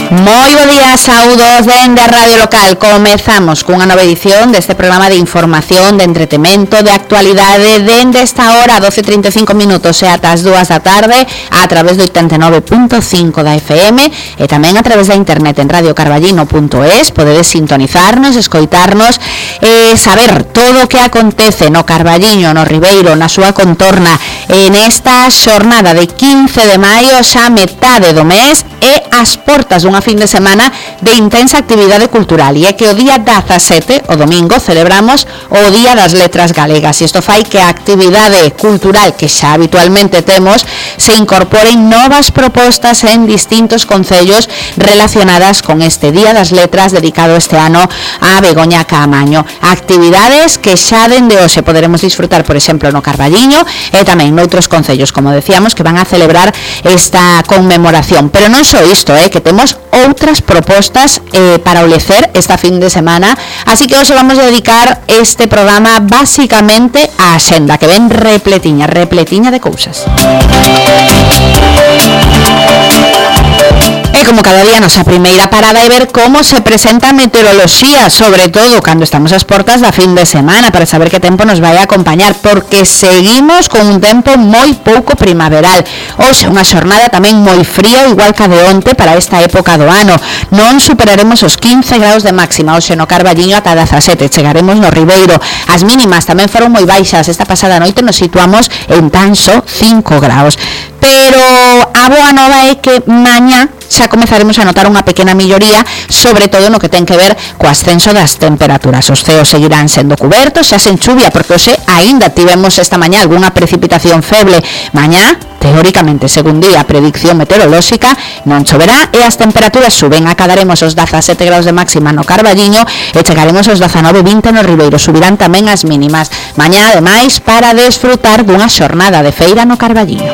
Moi bo día, saúdos dende a Radio Local. Comezamos cunha nova edición deste programa de información, de entretemento, de actualidade dende esta hora, 12:35 minutos e ata as 2 da tarde a través do 89.5 da FM e tamén a través da internet en radiocarballino.es. Podedes sintonizarnos, escoitarnos e saber todo o que acontece no Carballiño, no Ribeiro, na súa contorna en esta xornada de 15 de maio, xa metade do mes e as portas dunha fin de semana de intensa actividade cultural. E é que o día 17, o domingo, celebramos o Día das Letras Galegas, e isto fai que a actividade cultural que xa habitualmente temos se incorporen novas propostas en distintos concellos relacionadas con este Día das Letras dedicado este ano a Begoña Caamaño. Actividades que xa dende hoxe poderemos disfrutar, por exemplo, no Carballiño e tamén noutros concellos, como decíamos, que van a celebrar esta conmemoración. Pero non só isto, que temos outras propostas para o lecer esta fin de semana, así que hoxe vamos a dedicar este programa basicamente á axenda, que ven repletiña de cousas. E como cada día, nosa primeira parada é ver como se presenta a meteoroloxía, sobre todo cando estamos ás portas da fin de semana, para saber que tempo nos vai a acompañar, porque seguimos con un tempo moi pouco primaveral. Hoxe unha xornada tamén moi fría, igual que a de onte para esta época do ano. Non superaremos os 15 graus de máxima hoxe no Carballiño, ata 17 chegaremos no Ribeiro. As mínimas tamén foron moi baixas, esta pasada noite nos situamos en tan só 5 graus. Pero a boa nova é que mañá xa comezaremos a notar unha pequena melloría, sobre todo no que ten que ver co ascenso das temperaturas. Os ceos seguirán sendo cubertos, xa sen chuvia, porque hoxe aínda tivemos esta mañá algunha precipitación feble. Mañá, teóricamente, según di a predicción meteorolóxica, non choverá e as temperaturas suben. Acadaremos os 17 graus de máxima no Carballiño e chegaremos aos 19-20 no Ribeiro. Subirán tamén as mínimas. Mañá, ademais, para desfrutar dunha xornada de feira no Carballiño.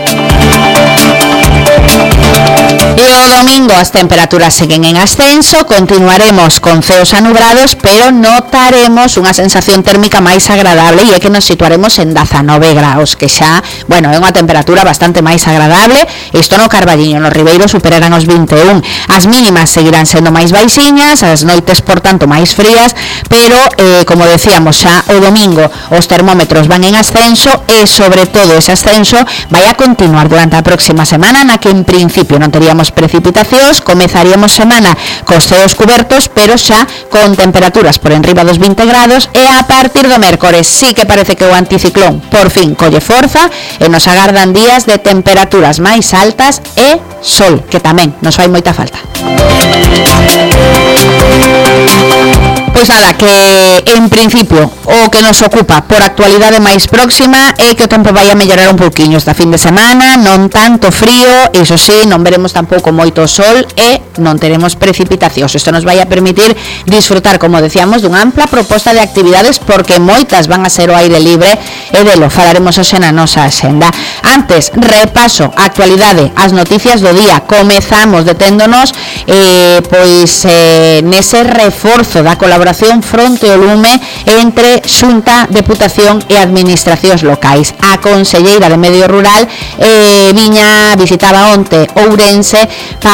E o domingo as temperaturas seguen en ascenso, continuaremos con ceos anubrados, pero notaremos unha sensación térmica máis agradable e é que nos situaremos en 19 graus, que xa, bueno, é unha temperatura bastante máis agradable. Isto no Carballiño, no Ribeiro superarán os 21. As mínimas seguirán sendo máis baixiñas, as noites, por tanto, máis frías, pero, como decíamos, xa o domingo os termómetros van en ascenso e, sobre todo, ese ascenso vai a continuar durante a próxima semana, na que en principio non teríamos precipitacións. Comezaríamos semana cos ceos cubertos, pero xa con temperaturas por enriba dos 20 grados, e a partir do mércores sí que parece que o anticiclón por fin colle forza e nos agardan días de temperaturas máis altas e sol, que tamén nos fai moita falta. Pois nada, que en principio o que nos ocupa por actualidade máis próxima é que o tempo vai a mellorar un pouquiño esta fin de semana, non tanto frío, iso sí, non veremos tampouco moito sol e non teremos precipitacións. Isto nos vai a permitir disfrutar, como decíamos, dunha ampla proposta de actividades, porque moitas van a ser o aire libre e delo falaremos hoxe na nosa axenda. Antes, repaso a actualidade, as noticias do día. Comezamos deténdonos nese reforzo da colaboración fronte ao lume entre Xunta, Deputación e Administracións locais. A conselleira de Medio Rural visitaba onte Ourense